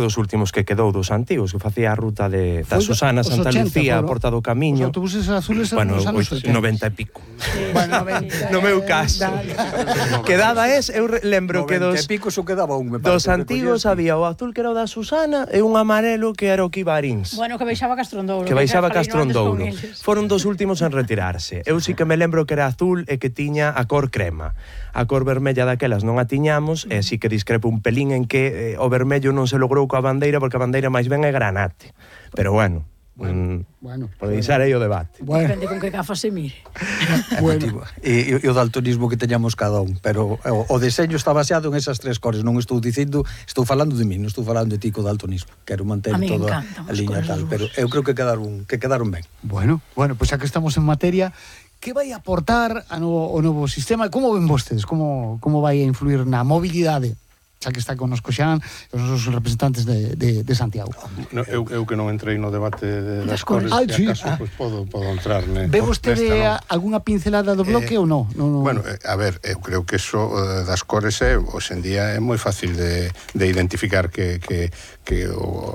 dos últimos que quedou dos antigos, que facía a ruta da Susana, Santa Lucía, a Porta do Camiño. Os autobuses azules eran Bueno, nos anos 80. 90 e pico. Bueno, No meu caso. Quedaba eu lembro que 90 e pico só quedaba un, me parece. dos antigos había o azul que era o da Susana e un amarelo que era o que iba a Arins. Bueno, que baixaba Castrondouro. Que baixaba Castrondouro. Foron dos últimos en retirarse. Eu sí que me lembro que era azul e que tiña a cor crema. A cor vermella daquelas non a tiñamos, e sí que discrepo un pelín en que o vermello non se logrou coa bandeira, porque a bandeira máis ben é granate. Pero bueno, pois era aí o debate. Depende con que gafas se mire. E o daltonismo que teñamos cada un, pero o deseño está baseado en esas tres cores. Non estou dicindo, estou falando de mí, non estou falando de ti co daltonismo. Quero manter toda a liña tal, pero eu creo que quedaron ben. Bueno, pois xa que estamos en materia, que vai aportar o novo sistema? Como ven vostedes? Como vai a influir na mobilidade? Xa que está connosco Xan, os nosos representantes de Santiago. No, eu que non entrei no debate das cores, se acaso, pois podo entrar. Ve vostede algunha pincelada do bloque ou non? Bueno, a ver, eu creo que eso das cores hoxe en día é moi fácil de identificar que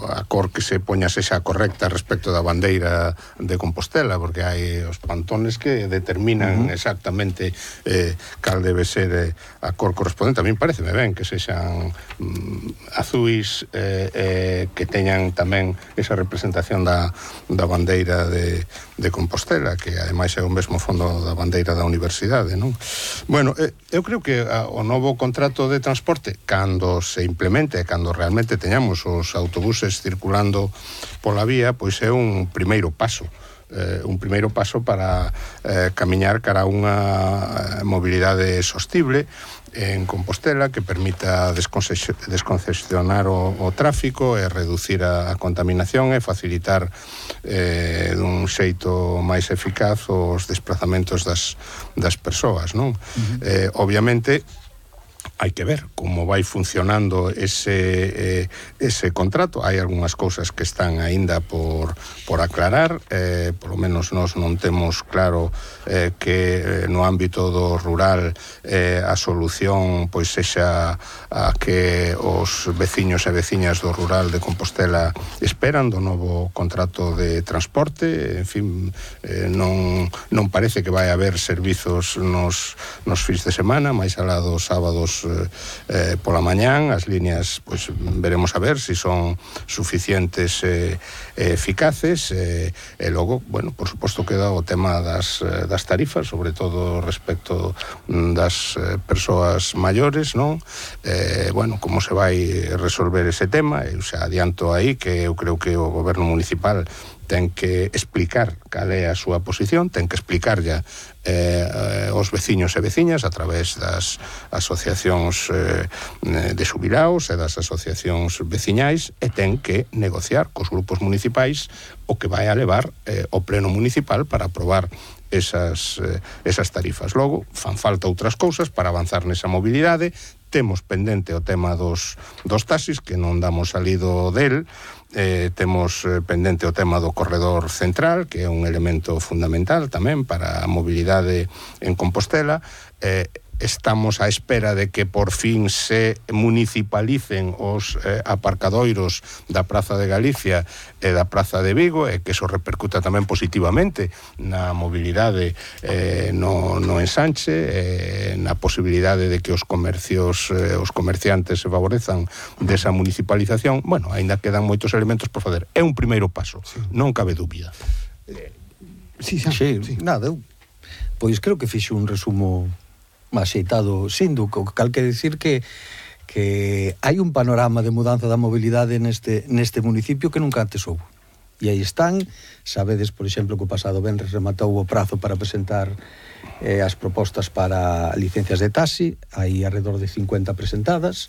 a cor que se poña sexa correcta respecto da bandeira de Compostela, porque hai os pantones que determinan exactamente cal debe ser a cor correspondente. A mí pareceme ben que sexan azuis que teñan tamén esa representación da bandeira de Compostela, que ademais é o mesmo fondo da bandeira da universidade, non? Bueno, eu creo que o novo contrato de transporte, cando se implemente, cando realmente teñamos os autobuses circulando pola vía, pois é un primeiro paso para camiñar cara a unha mobilidade sostible en Compostela que permita descongestionar o tráfico e reducir a contaminación e facilitar dun xeito máis eficaz os desplazamentos das persoas, non? Obviamente hai que ver como vai funcionando ese contrato. Hai algunhas cousas que están aínda por aclarar, polo menos nós non temos claro que no ámbito do rural a solución pois sexa a que os veciños e veciñas do rural de Compostela esperan do novo contrato de transporte. En fin, non parece que vai haber servizos nos fins de semana, máis alá dos sábados pola mañán. As líneas, pois veremos a ver se son suficientes e eficaces, e logo, bueno, por suposto queda o tema das tarifas, sobre todo respecto das persoas maiores, non? Bueno, como se vai resolver ese tema? Eu xa adianto aí que eu creo que o goberno municipal ten que explicar cal é a súa posición, ten que explicar ya os veciños e veciñas a través das asociacións de xubilaos e das asociacións veciñais, e ten que negociar cos grupos municipais o que vai a levar o pleno municipal para aprobar esas tarifas. Logo, fan falta outras cousas para avanzar nesa mobilidade. Temos pendente o tema dos taxis, que non damos salido del. Temos pendente o tema do corredor central, que é un elemento fundamental tamén para a mobilidade en Compostela. Estamos á espera de que por fin se municipalicen os aparcadoiros da Praza de Galicia e da Praza de Vigo, e que eso repercuta tamén positivamente na mobilidade no ensanche, na posibilidade de que os comercios, os comerciantes se favorezan desa municipalización. Bueno, aínda quedan moitos elementos por fazer. É un primeiro paso, non cabe dúbida. Sí, nada, eu pois creo que fixo un resumo axeitado, sindo, cal que decir que hai un panorama de mudanza da mobilidade neste municipio que nunca antes houve. E aí están, sabedes, por exemplo, que o pasado venres rematou o prazo para presentar as propostas para licencias de taxi. Hai alrededor de 50 presentadas,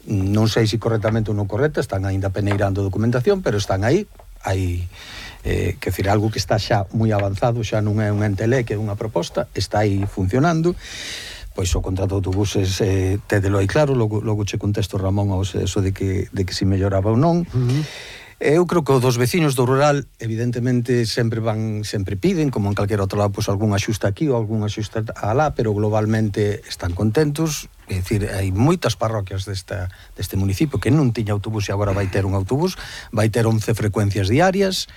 non sei se correctamente ou non correcta, están aínda peneirando documentación, pero están aí. Hai que decir, algo que está xa moi avanzado, xa non é un entelé, que é unha proposta, está aí funcionando. Pois o contrato de autobuses tédelo aí claro, logo che contesto, Ramón, ao eso de que se melloraba ou non. Eu creo que os dos veciños do rural evidentemente sempre piden, como en calquera outro lado, pois algún axuste aquí ou algún axuste alá, pero globalmente están contentos. É dicir, hai moitas parroquias deste municipio que non tiña autobús e agora vai ter un autobús, vai ter 11 frecuencias diarias,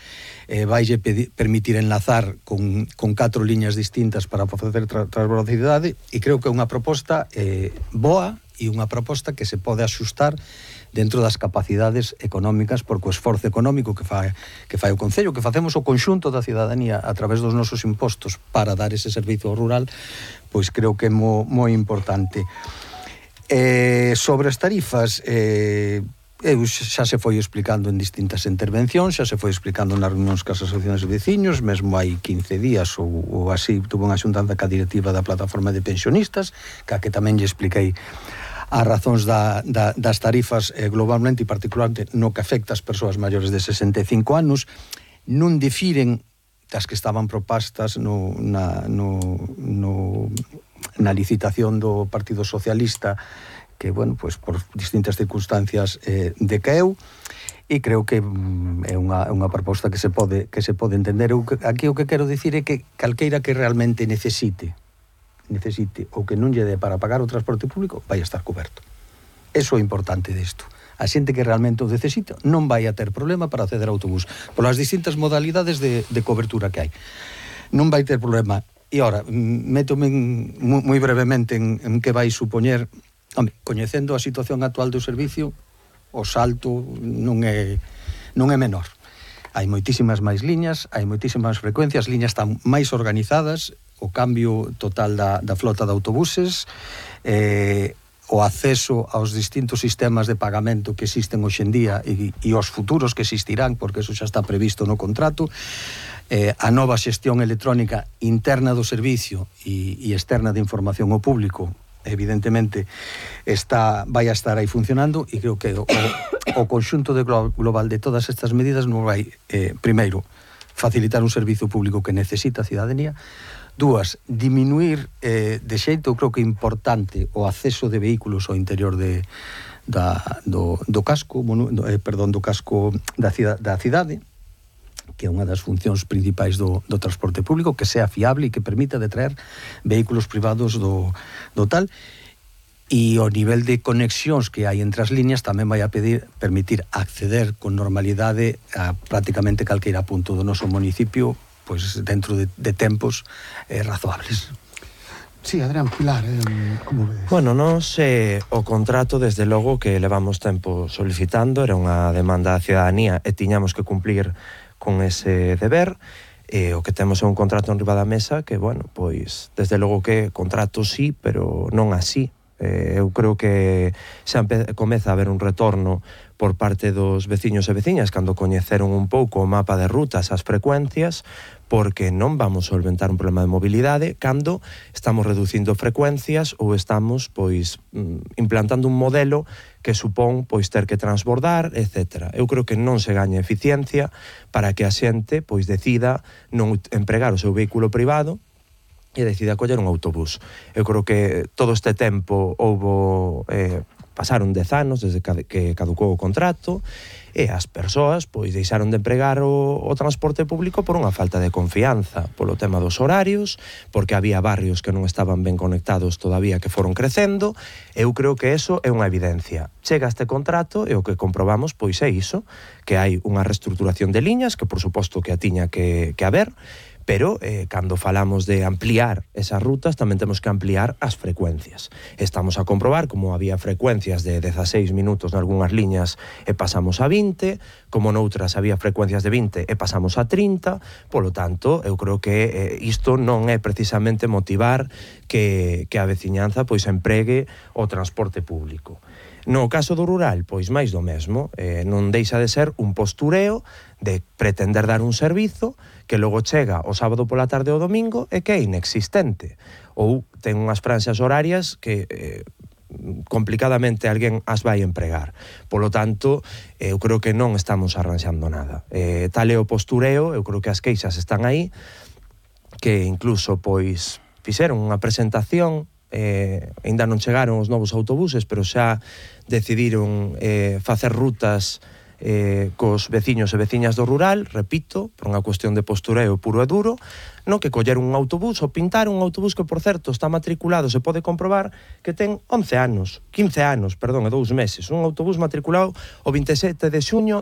vaille permitir enlazar con 4 liñas distintas para facer transvelocidade, e creo que é unha proposta boa e unha proposta que se pode axustar dentro das capacidades económicas, porque o esforzo económico que fai o Concello, que facemos o conxunto da cidadanía a través dos nosos impostos para dar ese servizo rural, pois creo que é moi importante. Sobre as tarifas, xa se foi explicando en distintas intervencións, xa se foi explicando nas reunións cas asociacións de veciños, mesmo hai 15 días ou así tuve unha xuntanza ca directiva da plataforma de pensionistas, que tamén lle expliquei as razóns das tarifas globalmente e particularmente no que afecta as persoas maiores de 65 anos, non difiren das que estaban propostas na licitación do Partido Socialista, que, bueno, pues por distintas circunstancias decaeu, e creo que é unha proposta que se pode entender. Aquí o que quero dicir é que calqueira que realmente necesite ou que non lle dé para pagar o transporte público vai estar coberto. Eso é importante disto. A xente que realmente o necesita non vai a ter problema para acceder ao autobús polas distintas modalidades de cobertura que hai. Non vai ter problema. E ora, métome moi brevemente en que vai supoñer. Coñecendo a situación actual do servicio, o salto non é menor. Hai moitísimas máis liñas, hai moitísimas frecuencias, liñas están máis organizadas, o cambio total da flota de autobuses, o acceso aos distintos sistemas de pagamento que existen hoxe en día e os futuros que existirán, porque eso xa está previsto no contrato, a nova xestión electrónica interna do servicio e externa de información ao público, evidentemente vai a estar aí funcionando, e creo que o conxunto global de todas estas medidas non vai, primeiro, facilitar un servizo público que necesita a cidadanía. Dúas, diminuir de xeito, creo que importante, o acceso de vehículos ao interior do casco da cidade, que é unha das funcións principais do transporte público, que sea fiable e que permita detraer vehículos privados do tal, e o nivel de conexións que hai entre as líneas tamén vai a permitir acceder con normalidade a prácticamente calqueira punto do noso municipio, pois dentro de tempos razoables. Sí, Adrián, Pilar, como vedes? Bueno, nos o contrato, desde logo, que levamos tempo solicitando, era unha demanda da cidadanía e tiñamos que cumplir con ese deber. O que temos é un contrato en riba da mesa que, bueno, pois, desde logo que contrato sí, pero non así. Eu creo que xa comeza a haber un retorno por parte dos veciños e veciñas cando coñeceron un pouco o mapa de rutas, as frecuencias, porque non vamos solventar un problema de mobilidade cando estamos reducindo frecuencias ou estamos, pois, implantando un modelo que supón, pois, ter que transbordar, etc. Eu creo que non se gaña eficiencia para que a xente, pois, decida non empregar o seu vehículo privado e decida coller un autobús. Eu creo que todo este tempo pasaron 10 anos desde que caducou o contrato, e as persoas pois deixaron de empregar o transporte público por unha falta de confianza, polo tema dos horarios, porque había barrios que non estaban ben conectados todavía, que foron crecendo. Eu creo que eso é unha evidencia. Chega este contrato e o que comprobamos pois é iso, que hai unha reestruturación de liñas, que por suposto que a tiña que haber, pero cando falamos de ampliar esas rutas tamén temos que ampliar as frecuencias. Estamos a comprobar como había frecuencias de 16 minutos nalgúnas liñas e pasamos a 20, como noutras había frecuencias de 20 e pasamos a 30, polo tanto, eu creo que isto non é precisamente motivar que a veciñanza pois empregue o transporte público. No caso do rural, pois máis do mesmo, non deixa de ser un postureo de pretender dar un servizo que logo chega o sábado pola tarde ou domingo e que é inexistente, ou ten unhas franxas horarias que complicadamente alguén as vai empregar. Polo tanto, eu creo que non estamos arranxando nada. Tal é o postureo, eu creo que as queixas están aí, que incluso pois fixeron unha presentación, ainda non chegaron os novos autobuses, pero xa decidiron facer rutas cos veciños e veciñas do rural, repito, por unha cuestión de postureo puro e duro, no que colleron un autobús ou pintar un autobús que, por certo, está matriculado, se pode comprobar que ten 15 anos, e 2 meses, un autobús matriculado o 27 de xuño